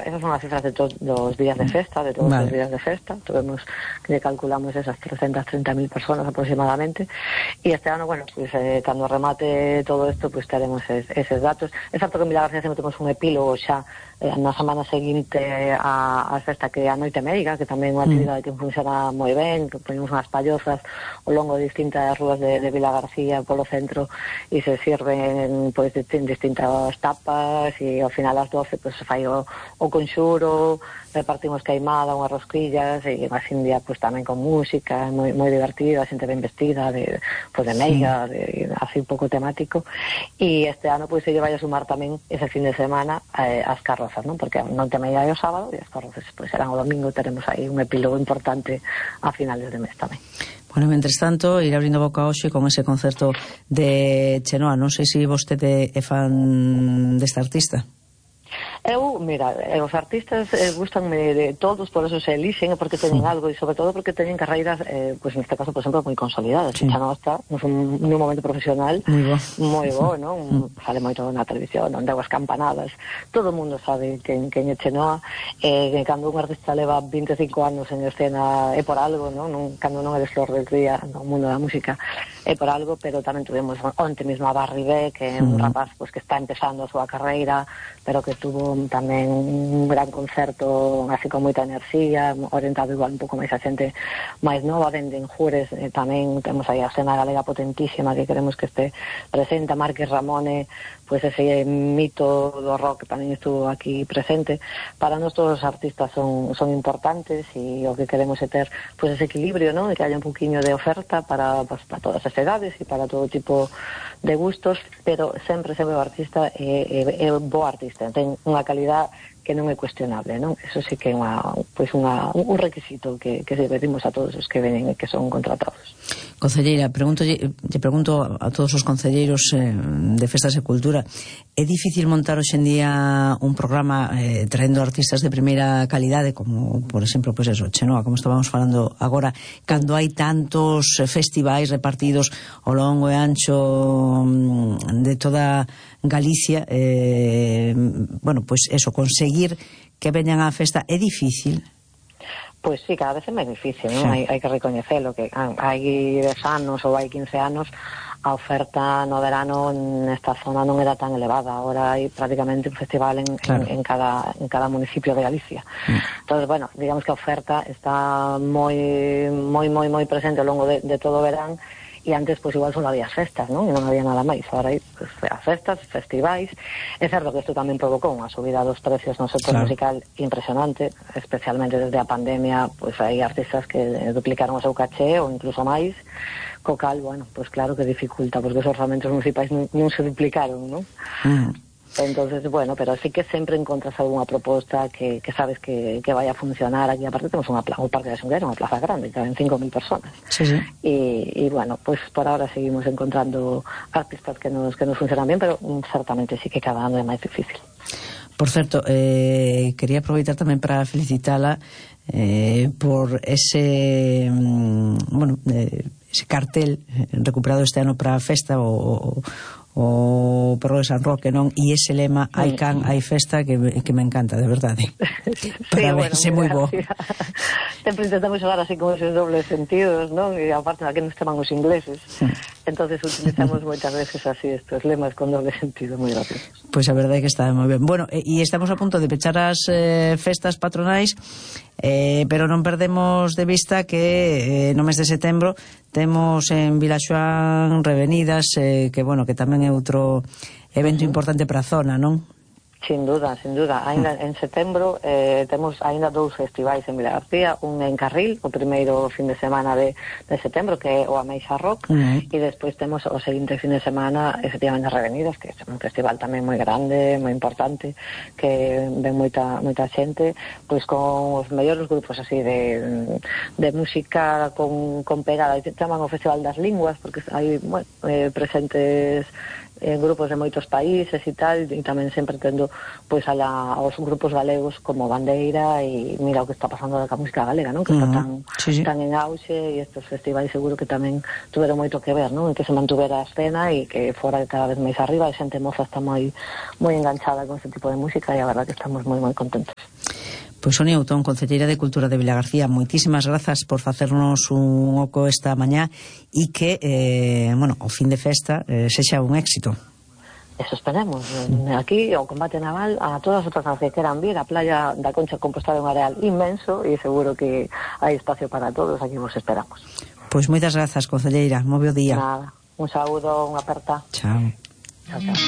esas son as cifras de todos os días de festa, de todos os días de festa. Tuvemos que calculamos esas 330.000 personas aproximadamente, e este ano, bueno, pues cando remate todo isto, pues teremos eses datos. É certo que en Vilagarcía sempre temos un epílogo xa na semana seguinte a festa, que é a Noite Meiga, que tamén é unha actividade que funciona moi ben, que ponemos unhas pallozas ao longo de distintas rúas de Vilagarcía polo centro, e se sirven pois distintas tapas, e ao final ás 12 pois se fai o conxuro, repartimos queimada, unhas rosquillas, e así un día pois tamén con música moi divertida, a xente ben vestida de meiga, así un pouco temático. E este ano pois se lle vai a sumar tamén ese fin de semana as carrozas, non? Porque non te meiga o sábado e as carrozas pois serán o domingo. Teremos aí un epílogo importante a finales de mes tamén. Bueno, mentres tanto, ir abrindo boca hoxe con ese concerto de Chenoa. Non sei se vostede é fan desta artista. Mira, os artistas gustanme de todos, por eso se elixen, porque teñen algo, e sobre todo porque teñen carreiras, pois neste caso, por exemplo, moi consolidadas. Chenoa está nun momento profesional moi bo, non? Sale moito na televisión, onde hago as campanadas, todo o mundo sabe quen é Chenoa, cando un artista leva 25 anos en escena é por algo, non? Cando non eres flor del día no mundo da música é por algo, pero tamén tuvemos onte mesmo a Barry B, que é un rapaz pues, que está empezando a súa carreira, pero que tuvo tamén un gran concerto así con moita enerxía, orientado igual un pouco máis a xente máis nova. Venden Jures, tamén temos aí a escena galega potentísima que queremos que este presente. A Márquez Ramone, pois ese mito do rock tamén estuvo aquí presente. Para nós todos os artistas son importantes, e o que queremos é ter pois ese equilibrio, non? De que haya un poquinho de oferta para todas as edades e para todo tipo de gustos, pero sempre o artista é bo artista, ten unha calidad que non é cuestionable, non? Eso sí que é un requisito que pedimos a todos os que venen e que son contratados. Concelleira, lle pregunto a todos os concelleiros de Festas e Cultura, é difícil montar hoxe en día un programa traendo artistas de primeira calidade, como, por exemplo, pues eso, Chenoa, como estábamos falando agora, cando hai tantos festivais repartidos ao longo e ancho de toda Galicia, bueno, pues eso, conseguir que veñan á festa é difícil? Pois sí, cada vez é máis difícil, non? Hai que recoñecelo, que hai 10 anos ou hai 15 anos a oferta no verano nesta zona non era tan elevada. Ahora hai prácticamente un festival en cada municipio de Galicia. Entonces, bueno, digamos que a oferta está moi presente ao longo de todo o verán, e antes pois igual só había as festas, non? E non había nada máis. Agora hai pues, as festas, festivais. É certo que isto tamén provocou unha subida dos precios no sector musical impresionante, especialmente desde a pandemia, pois hai artistas que duplicaron o seu caché ou incluso máis, co cal, bueno, pois claro que dificulta, porque os orzamentos municipais non se duplicaron, non? Entonces, bueno, pero sí que sempre encontras algunha proposta que sabes que vai a funcionar. Aquí aparte temos un parque de Xungueira, unha plaza grande, que caben 5.000 personas. E bueno, pues por ahora seguimos encontrando artistas que nos funcionan bien, pero certamente sí que cada ano é máis difícil. Por certo, quería aproveitar tamén para felicitala por ese ese cartel recuperado este ano para a festa, o Perro de San Roque, non? E ese lema, hai can, hai festa, que me encanta, de verdade. Parabéns, é moi bo. Sempre intentamos xogar así con esos dobles sentidos, non? E aparte aquí nos chaman os ingleses. Entonces utilizamos moitas veces así estos lemas con doble sentido, moi graciosos. Pois a verdade é que está moi ben. Bueno, e estamos a punto de pechar as festas patronais, pero non perdemos de vista que no mes de setembro temos en Vilaxoán Revenidas, que bueno, que tamén é outro evento importante para a zona, non? Sin duda. Ainda en setembro temos ainda 2 festivais en Vilagarcía, un en Carril, o primeiro fin de semana de setembro, que é o Ameixa Rock, e despois temos o seguinte fin de semana, efectivamente, Revenidas, que é un festival tamén moi grande, moi importante, que ven moita xente, pois con os mellores grupos así de música con pegada. Chaman o Festival das Linguas, porque hai presentes grupos de moitos países e tal, e tamén sempre tendo pois aos grupos galegos como Bandeira, e mira o que está pasando ca música galega, non? Que está tan en auxe, e estes festivais seguro que tamén tuveron moito que ver, non? En que se mantuvera a escena e que fora cada vez máis arriba, e xente moza está moi enganchada con este tipo de música, e a verdad que estamos moi contentos. Pois Sonia Outón, concelleira de Cultura de Vilagarcía, moitísimas grazas por facernos un oco esta mañá, e que, o fin de festa sexa un éxito. Eso esperemos. Aquí, o combate naval, a todas as outras que queran vir, a playa da Concha Compostela é un areal inmenso, e seguro que hai espacio para todos, aquí vos esperamos. Pois moitas grazas, concelleira, moi bo día. Nada, un saúdo, unha aperta. Chao. Chao.